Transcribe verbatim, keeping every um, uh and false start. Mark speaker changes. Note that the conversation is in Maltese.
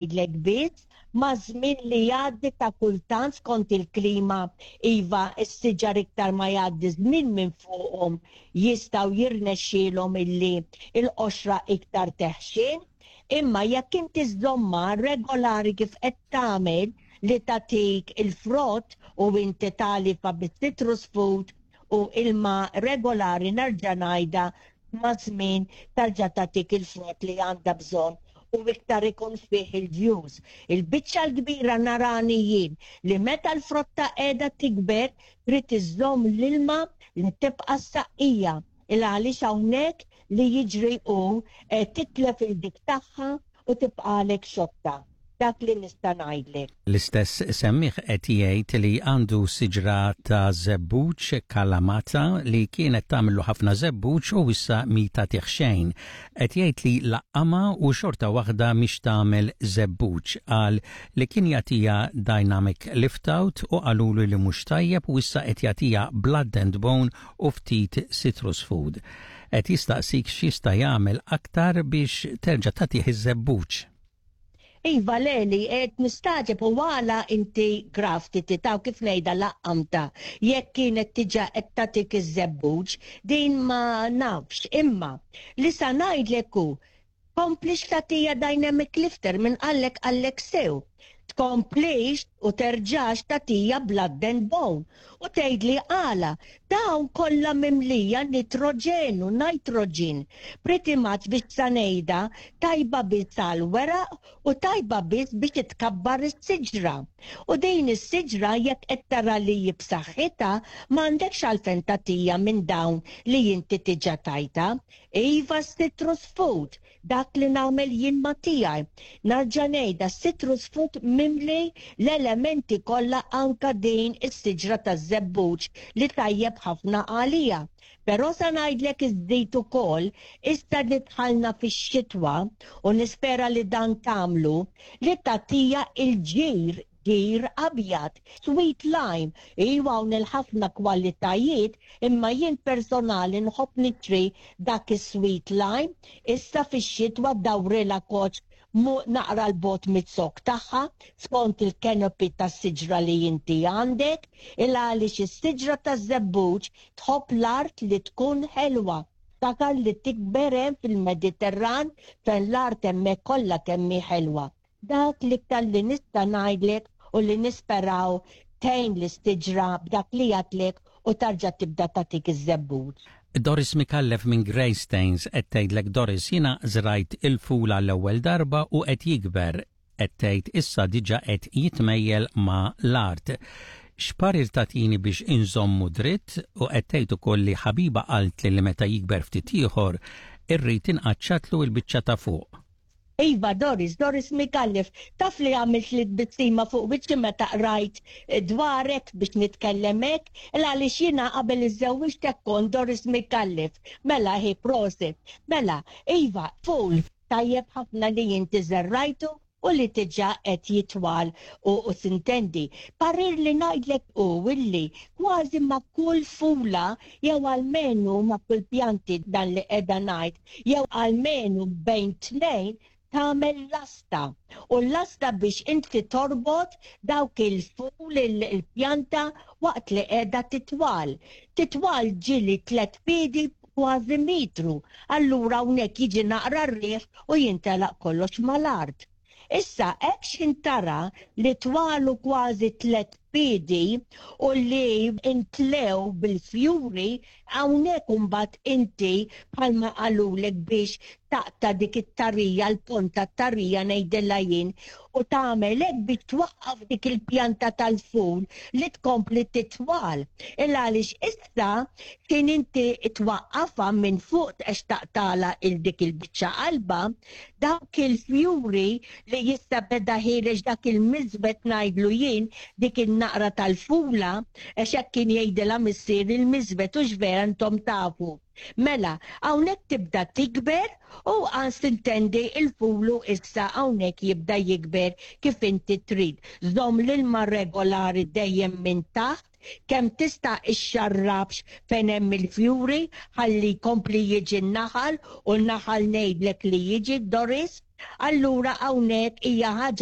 Speaker 1: Ngħidlek biss, maż-żmien li jgħaddi ta' kultant skont il-klima, iva, s-siġar iktar ma jgħaddi żmien minn fuqhom jistgħu jirnexxielhom illi l-qoxra iktar teħxien, imma jekk inti żżommha regolari kif qed tagħmel li tagħtik il-frott u inti tagħlifha bis-citrus food u ilma regolari, nerġa' ngħidha, maż-żmien terġa' tagħtik il-frott li għandha bżonn u iktar ikun fih il-ġus. Il-biċċa l-kbira narani jien li meta l-frotta qiegħda tikber trid iżżomm l-ilma li tibqa' saqqija, il għaliex hawnhekk li jiġri hu eh, titlef il-dik tagħha u tibqalek xotta. Dak li nista' ngħidlek.
Speaker 2: L-istess semmiegħ qed jgħid li għandu siġra ta' żebbuġ kalamata li kienet tagħmlu ħafna żebbuġ u issa mhi tagħtih xejn. Qed jgħid li laqqamha u xorta waħda mhix tagħmel żebbuġ. Qal li kien jagħtiha Dynamic Lift Out u qalulu li mhux tajjeb u issa qed jagħtiha Blood and Bone u ftit citrus food. Qed jistaqsik x'jista' jagħmel aktar biex terġa' tagħtih iż-żebbuġ.
Speaker 1: Iva Leli, qed nistagħġeb u għala inti grafted taw, kif ngħidha, laqqamtha. Jekk kienet diġà qed tagħtik iż-żebbuġ, din ma nafx. Imma li sa ngħidlek hu, komplix tagħtiha Dynamic Lifter, minn qallek qallek sew. Tkomplix u terġax tagħtiha Blood and Bone. U tgħidli għala, dawn kollha mimlija nitroġenu, nitrogen. Pretty much biex sa ngħidha tajba biss għal weraq u tajba biss biex tkabbar is-siġra. U din is-siġra jekk qed tara li b'saħħitha, m'għandekx għalfejn tagħtiha minn dawn li inti diġà tajtha. Iva, citrus food, dak li nagħmel jien ma tiegħi. Nerġa' ngħidha, citrus food mimli l-elementi kollha, anka din is-siġra taż-żebbuġ li tajjeb ħafna għalija. Però sa ngħidlek iżdid ukoll, issa li dħalna fix-xitwa u nispera li dan tagħmlu, li tagħtiha il-ġir ġir abjad, sweet lime, iwa, hawn il-ħafna kwalitajiet, imma jien personali nħobb nixtri dak is-sweet lime, issa fix-xitwa dawrilha koċ mu naqra 'l bogħod miz-zokk tagħha, skont il-canopy tas-siġra li inti għandek, il għaliex is-siġra taż-żebbuġ tħobb l-art li tkun ħelwa. Takar li tikber hemm fil-Mediterran fejn l-art hemmhekk kollha kemm hi ħelwa. Dak l-iktar li nista' ngħidlek u li nisperaw tgħin lis-siġra b'dak li għedtlek u terġa' tibda tagħtik iż-żebbuġ.
Speaker 2: Doris Mikallef minn Greystanes qed tgħidlek: "Doris, jiena żrajt il-fula l-ewwel darba u qed jikber." Qed tgħid issa diġà qed jitmejjel ma' l-art. X'parir tagħtini biex inżommu dritt? U qed tgħid ukoll li ħabiba qalt li meta jikber ftit ieħor irrid inqaċċatlu l-biċċa ta' fuq.
Speaker 1: Iva, Doris, Doris Mikallef, taf li għamilt li tbissima fuq wiċċi meta qrajt dwarek biex nitkellem hekk, għaliex jiena qabel iżżewwiġt kont Doris Mikallef. Mela hi prosit. Mela, iva, ful, tajjeb ħafna li inti żerrajtu u li diġà qed jitwal u, u sintendi. Parir li ngħidlek u illi kważi ma' kull fula jew almenu ma' kull pjanti dan li qiegħda ngħid, jew almenu bejn tnejn tagħmel lasta. U l-lasta biex inti torbot dawk il-ful, il-pjanta waqt li qiegħda titwal. Titwal ġieli tliet piedi, kważi mitru. Allura hawnhekk jiġi naqra r-riħ u jintelaq kollox mal-art. Issa, hekk x'intara li twalu kważi tliet piedi u li intlew bil-fjuri, hawnhekk imbagħad inti bħalma qalulek biex taqta' dik it-tarija, l-ponta tarija ngħidilha jien, u tagħmel hekk biex twaqqaf dik il-pjanta tal-ful li tkompli titwal. Il għaliex issa kien inti twaqqafha minn fuq għax taqtagħlha il dik il-biċċa qalba, dawk il-fjuri li jista' beda ħiereġ dak il-miżbet ngħidlu jien, dik il-naqra tal-fula, għax hekk kien jgħidilha missier, il-miżbet, u vera intom tafu. Mela, hawnhekk tibda tikber u għan sintendi il-fulu issa hawnhekk jibda jikber kif inti trid. Żomm l-ilma regolari dejjem minn taħt, kemm tista' ixxarrabx fejn hemm il-fjuri ħalli jkompli jiġi n-naħal, u n-naħal ngħidlek li jiġi, Doris. Allura hawnhekk hija ħaġa